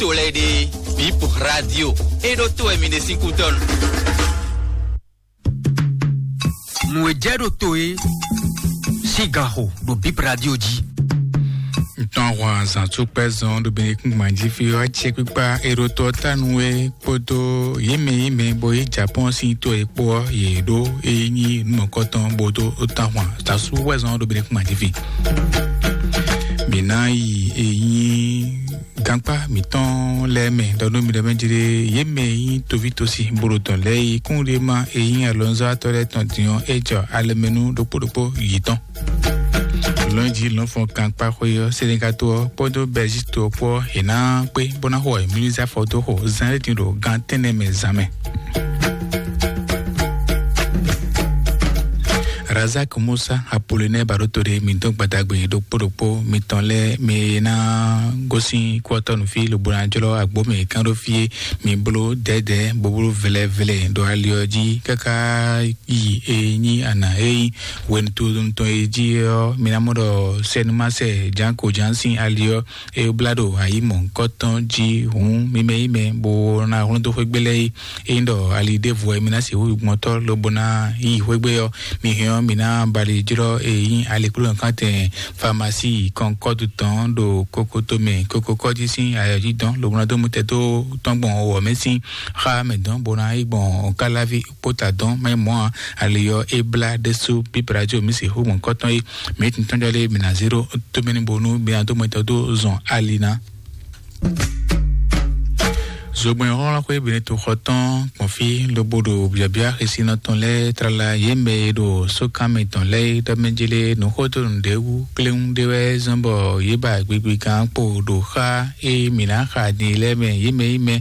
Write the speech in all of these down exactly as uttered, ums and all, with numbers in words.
to lɛ́ɛ ɖe, Bip Radio, é ɖó to wɛ mi ɖe sín kútɔ́nu. Nǔ e jɛ ɖo to é sín ganxo ɖo Bip Radio jí. Ntɔn hwan zan tó kpɛ zɔn ɖo Benekun gbanjí fi ɔ́, acɛ kpíkpá eɖótɔ tánu e kpódó yě mɛ yě mɛ bɔ yě Japɔn sín to e kpó ɔ́, yě ɖó e nyí nǔmɔkɔtɔn bó dó tán hwan zan sú wɛ zɔn ɖo Benekun gbanjí fi. Mǐ ná yi e nyí gankpá mǐtɔn lɛ́ɛ mɛ ɖɔ nú mi ɖɔ mɛ jlé yě mɛ e nyí toví tosi bolo tɔn lɛ́ɛ yi kún ɖé ma e nyí alɔnzɔ́tɔ́ lɛ́ɛ tɔn din ɔ́, é jɔ alɛmɛnú ɖokpó ɖokpó yětɔn. Lɔnji lɔnfɔn gankpá xwe ɔ́, Senegal to ɔ́ kpódó Belgique to ɔ́ kpó ɔ́, è nǎ kpé bó ná xo ɛmilizafɔ dó xo zan e din ɖo gan tɛ́nnɛ mɛ zan mɛ. Razak Musa Apollinaire Baɖóto ɖé mi dó gbadagbe ɖokpó ɖokpó mitɔn lɛ́ɛ mi ná gosín kúɔtɔ́nu fí lobo ná jlɔ́ agbó mɛ kán ɖó fí é. Mi bló dɛ̌dɛ̌ bó bló vlɛvlɛ ɖo ali ɔ́ jí káká yi e nyí ana e nyí hwenu tɔn e jí ɔ́, mi ná mɔ ɖɔ sɛnumásɛ jǎnko jǎn sín ali ɔ́ e blá ɖo ayǐ mɔ̌hunkɔtɔn jí hǔn mi mɛ yi mɛ bó ná hlɔ́n dó xwé gbé lɛ́ɛ é. Ényí ɖɔ ali ɖěvo wɛ mi ná sixú yi gbɔn tɔ́ lobo ná yi xwé gbé ɔ́, mi hɛn ɔ́, mi ná bali jlɔ́ e nyí alikplɔ́nɔkantɛn famasi kɔnkɔ́du tɔn ɖo kokoto mɛ, kokokɔ́ jí sín ayɔ jí dɔn lobo ná dó mutɛ dó tɔn gbɔn wɔ mɛ sín xá mɛ dɔn bó ná yi gbɔn kálávi kpóta dɔn mɛ mɔ̌ ǎ. Ali ɔ́ é blá ɖésú bíbrajo mi sixú gbɔn kɔ́tɔn é. Mi tún tɔn jɔ lé mi ná zé ɖó tómɛnibonu mi ná dó mɔtɔ dó zɔn ali ná. Zogbɛ́n xɔ́nxɔ́n xwé Benetoxɔ tɔn gbɔn fí lobo ɖo biabia xesinɔ tɔn lɛ́ɛ tlala yě mɛ e ɖo sókanmɛ tɔn lɛ́ɛ é ɖɔ mɛ jélé nǔxódonu ɖě wú kléwún ɖé wɛ zɔ́n bɔ yě ba gbigbi gán kpo ɖo xá e mǐ ná xa din lɛ́ɛ mɛ yě mɛ yi mɛ,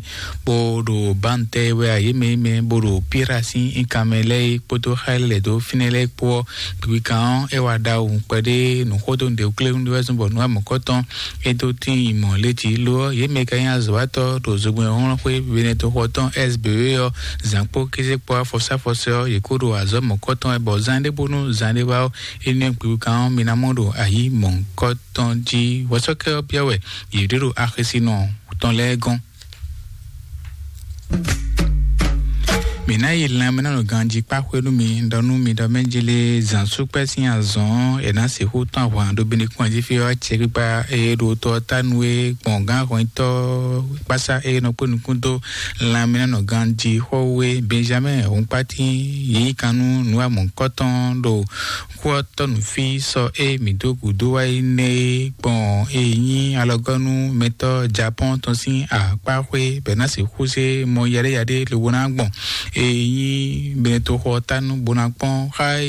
bó ɖo bantɛ wɛ a yě mɛ yi mɛ bó ɖo píra sín inkanmɛ lɛ́ɛ é kpódó xá e lɛ̌ dó fínɛ́ lɛ́ɛ kpó ɔ́, gbigbi gán ɔ́ é wá ɖawu kpɛɖé nǔxódonu ɖě wú kléwún ɖé wɛ zɔ́n bɔ nǔ amɔ̌kɔ́tɔn é dó tíin yi mɔ̌ létí. Lo ɔ́, yě mɛ ka nyí azɔ̌watɔ́ ɖo zogbɛ́n xɔ́nxɔ́n xwé Benetoxɔ tɔn S B E ɔ́, zǎnkpó kézékpó afɔsɛ́afɔsɛ́ ɔ́, yě kó ɖo azɔ̌ mɔ̌kɔ́tɔn wɛ bɔ zán ɖé bónú zán ɖé wá ɔ́, énɛ́ gbigbi gán ɔ́ mi ná mɔ ɖo ayǐ mɔ̌hunkɔtɔn jí. Hwɛsɔ́kɛ ɔ́ byɔ́ wɛ yě ɖé ɖo axisínɔ tɔn lɛ́ɛ gɔ́n. Mǐ ná yi lanmɛnánɔ ganjí kpá xwé nú mi ɖɔ nú mi ɖɔ mɛ jélé zǎnsúkpɛ́ sín azɔ̌ ɔ́, è nǎ sixú tɔ́n ahwan ɖo Benekun jí fí ɔ́, acɛkpikpa e ɖo tɔ ɔ́ ta nú é gbɔn gán hwɛntɔ́ kpásá e nɔ kpé nukún dó lanmɛnánɔ ganjí xɔ́wé Benjamin Hunkpátín yí kan nú nǔ amɔ̌kɔ́tɔn ɖo kú ɔ́ tɔ́ nǔ fí sɔ e mǐ dó gǔdo wá yi nɛ́ é gbɔn e nyí alɔgɔ́nú mɛtɔ́ Japɔ́n tɔn sín akpá xwé bɛ̌ ná sixú zé mɔ yaɖéyaɖé lobo ná gbɔn e nyí Benetoxɔ ɔ́ ta nú bó ná kpɔ́n xá e